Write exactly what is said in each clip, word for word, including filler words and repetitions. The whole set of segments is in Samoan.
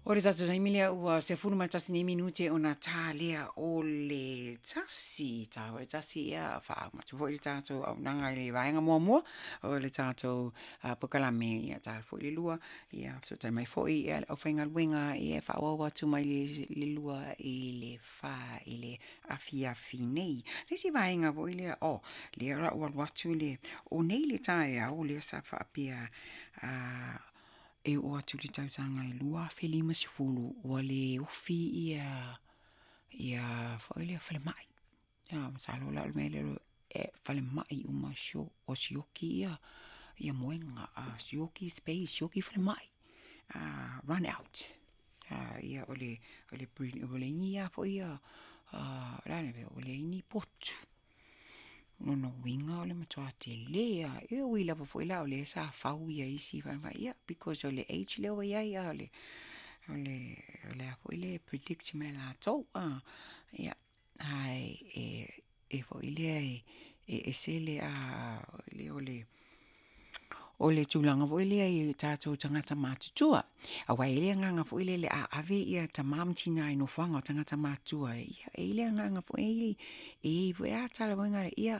O le tatou taimi lea ua sefulu ma le tasi nei minute ona ta lea o le tasi, ta o le tasi ia faauma atu foi le tatou auaunaga i le vaega muamua o le tatou polokalame, ia ta foi le lua, ia fesootai mai foi le aufaigaluega e faaauau atu mai le lua i le fa i le afiafi nei. Le isi vaega foi lea, oh, lea o le a ou alu atu i le, o nei le taeao lea sa faapea e oo atu i le tausaga e lua afe lima sefulu ua le ofi ia ia foi lea falemai. Masalo la o le mea lea e falemai uma ua sioki ia ia moega, sioki space, sioki falemai, run out. Ia o le o le ua leai ni a foi ia, o le a le mea, ua leai ni potu. O lona uiga o le matua tele lava, e ui lava foi la o lea sa fau isi falemai, ia because o le age lea ua i ai, a o le o le o le a foi le predict mai e latou. Ia, ae e foi lea e ese le o le o le tulaga foi lea i tatou tagata matutua. Aua e i ai le agaga foi lele a ave ia tama ma tina i nofoaga o tagata matutua, ia e i ai le agaga foi lele, e i ai foi lava tala foi na, ia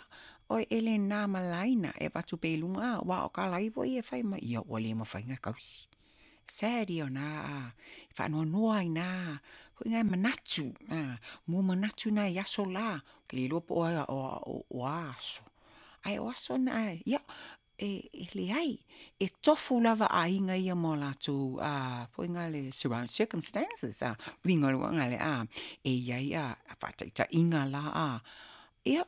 oi e le na ma le laina e avatu pea i luga, aua o tala foi ia e fai mai, ia ua le mafai ona tausi. Sad ia o na faanoanoa ai i na foi manatu, mo manatu na i aso la, ou te le iloa po o a aso, ae o aso na, ia, e leai, e tofu lava aiga ia ma o latou foi na le surround circumstances, uiga o le a, e i ai faataitaiga la, ia,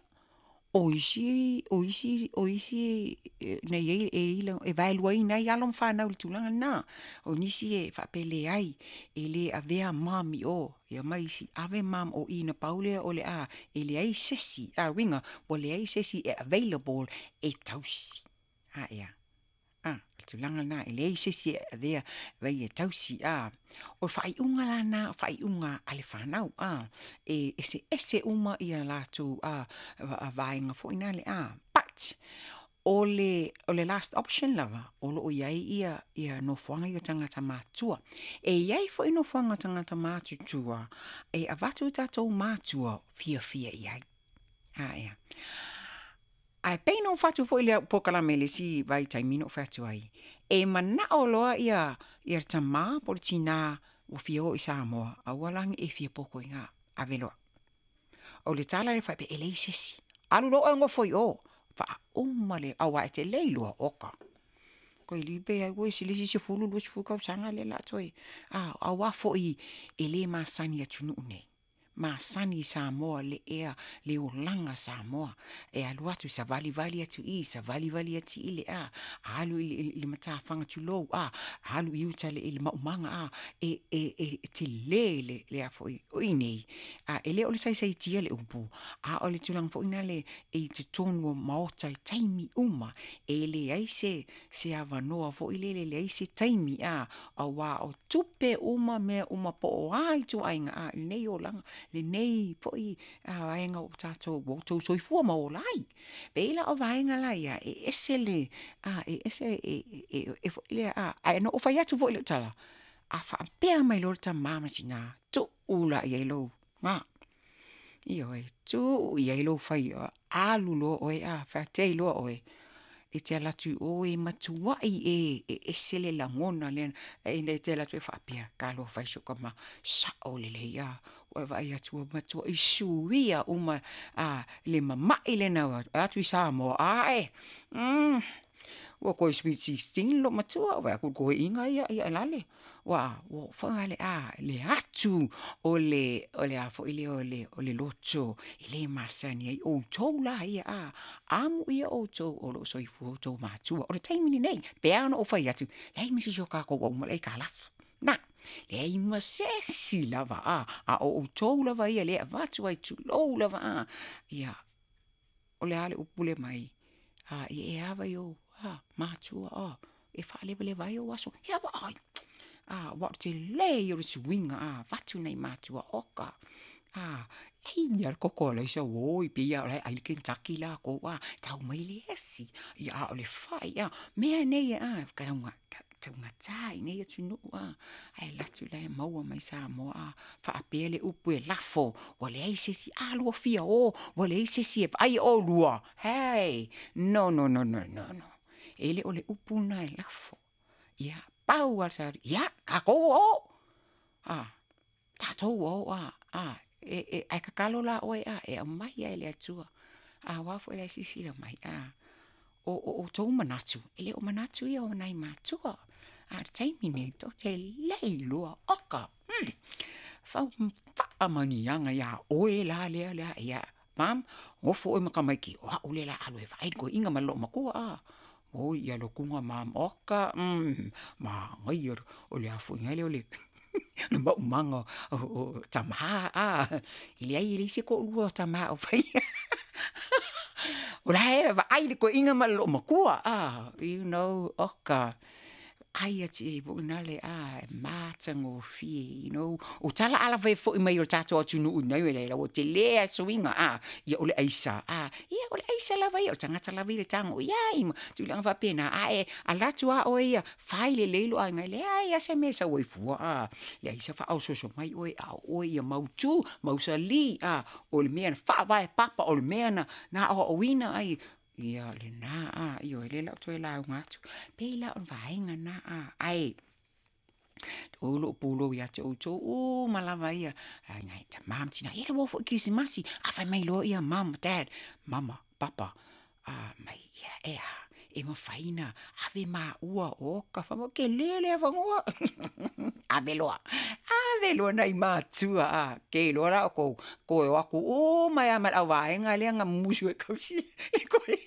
o isi, o isi, o isi na i ai, e vaeluaina ai alo ma fanau i le tulaga lena. O nisi e faapea e leai, e le avea mom i o, ia ma isi, ave mom o i na pau lea o le a, e leai se isi, a uiga, ua leai se isi e available e tausi. A ia, a, o le tulaga lena, e leai se isi e avea e tausi. A, o le faaiuga la lena o faaiuga a le fanau, a, e eseese uma ia latou a, vaega foi na le a, but o le, o le last option lava, o lo o i ai ia, ia nofoaga ia o tagata matutua. E i ai foi nofoaga o tagata matutua e avatu i tatou matua fiafia i ai. A ia. Ae pei ona ou fai atu foi i le polokalame i le isi vaitaimi na ou fai atu ai, e manao loa ia, ia le tamā po o le tinā ua fia o i Samoa, aua la ne i e fia poto i ina, ave loa. O le tala lea faapea, e leai se isi, alu loa oe e nofo i o, faauma le, aua e te le iloa, oka. Koe pe ai ua ese le isi sefulu, luasefulu tausaga lea o le a toe, a, aua foi e le masani i atunuu nei. Masani i Samoa le ea, le olaga Samoa. E alu atu, savalivali atu i, savalivali atu i le a, alu i le matafaga tulou, a, alu i uta i le maumaga, a, e, e, e tele le, le a foi, o i nei, a, e le o le saisaitia le upu, a o le tulaga foi na le e i totonu o maota i taimi uma, e leai se, se avanoa foi lele, leai se taimi, a, aua o tupe uma, mea uma po o a ituaiga, a, lenei olaga, lenei foi vaega o tatou ua outou soifua ma ola ai. Pei la o vaega la ia, e ese le, a, e ese, e, e, e foi lea, a, ae na ou fai atu foi lau tala, a faapea mai loa le tamā ma tina, tuu la i ai lou, ga, ioe, tuu i ai lou fai, alu loa oe, a, faatei loa oe, e te alu atu i o e matuai e, e ese le lagona lea, e te alu atu e faapea, talofa e si ou tama, sao lelei, a, ua e vaai atu ua matuai suia uma a, le mamai lena ua atu i Samoa, ae, mm, ua toe sweet sixteen lou matua, vaai atu i le toeaina ia, ia lale, ua, ua fagale, a, le atu o le, o le a foi lea o le, o le loto e le masani ai outou la ia, a, amuia outou o lo o soifua outou matua. O le taimi lenei, pe a ona ou fai atu, leai ma se isi o tatou ua uma le aitalafu. Na, leai ma se isi lava, a, a o outou lava ia lea e avatu ai, tulou lava, a, ia, o le a le upu lea mai, a, ia e ava i ou, a, matua, a, e faalevaleva ai ou aso, ia vaai, a, aua o le tele ia o le suiga, a, avatu nai matua, oka, a, e i lava le toto o Alaisa, oi, pei lava o la e ai le Kentucky latou, a, tau mai le esi, ia a o le fai, a, mea nei, a, Taugata i nei atunuu a, ae alu atu la e maua mai Samoa a, faapea le upu e lafo, ua leai se isi, a lua fia o, ua leai se isi e vaai oulua. Hey, no no no no no. E le o le upu lena e lafo. Ia, pau lava le savalivali, ia tatou ua o, a, tatou ua o a, a, e ae tatalo la oe a, e aumai lava e le Atua. Aua foi o la e silasila mai, a, o outou manatu, e le o manatu ia o nai matua. A o le taimi lenei, tou te le iloa, oka, faamanuiaga ia oe la lea lea, ia mom, nofo oe ma tamaiti, o au lea o le a alu e vaai le toeaina ma le loomatua a. Oi ia alu atu mom, oka, manaia o le a foi nale o le maumaga o tama a, e leai e leai se toalua o tama o faia. O la e vaai le toeaina ma le loomatua a, you know, oka, vaai atu i ai foi nale a, e matagofie, you know. O tala a foi mai o le tatou atunuu ua tele lava le suiga a, ia o le aisa a, ia o le aisa lava ia, o le tagata lava ia e tago i ai ma tulaga faapena, ae alu atu lava oe ia fai lelei lou aiga, e leai lava se mea e sau ai fua a, leai se faaosooso mai oe, a o oe ia mautu, mausali a, o le mea na faavae papa, o le mea na aoaoina ai, ia o lena a, ioe, o lea o le a ou toe lauga atu. E pei la o le vaega lena a, ae o lou pulou ia te outou uma lava ia, nai tama ma tina, ia le uo foi kerisimasi, a fai mai loa ia mom, dad, mama, papa, a mai, ia e a, e mafai ona ave maua, oka, fai mai ua tele le avanoa, ave loa, ave loa nai matua a, te iloa la outou, toe o atu uma ai lava ma le auvaega lea na mumusu e tausi le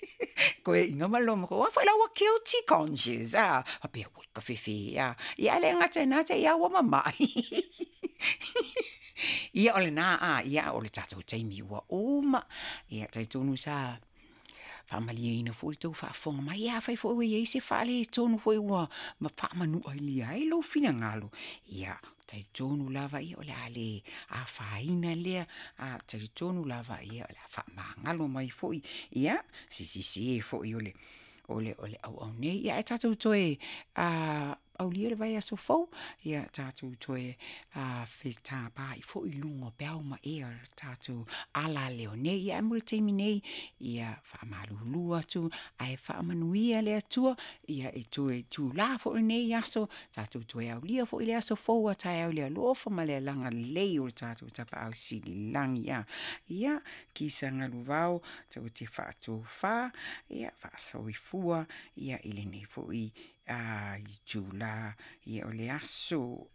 toeaina ma le loomatua, aua foi la ua guilty conscious a, faapea oi tafefe e a, ae le gata i lena te i lava ua mamai. Ia o lena a, ia o le tatou taimi ua uma, ia talitonu sa faamalieina foi le tou faafofoga mai, ia afai foi ua i ai se faaletonu foi ua faamanualia ai lou finagalo, ia talitonu lava ia o le a le afaina lea, a talitonu lava ia o le a faamagalo mai foi, ia se sese foi o le o le o le auau nei, ia ae tatou toe aulia le vaiaso fou, ia tatou toe fetapai foi i luga o peau ma ea o le tatou alaleo nei. Ia ae mo le taimi nei, ia faamalulu atu ae faamanuia le Atua, ia e toe itula foi lenei aso, tatou toe aulia foi le aso fou a taeao i le alofa ma le agalelei o le tatou Tapaau Sili i le lagi. A ia, kisa galuvao, tou te faatofa, ia faasoifua ia i lenei foi itula, ia o le aso.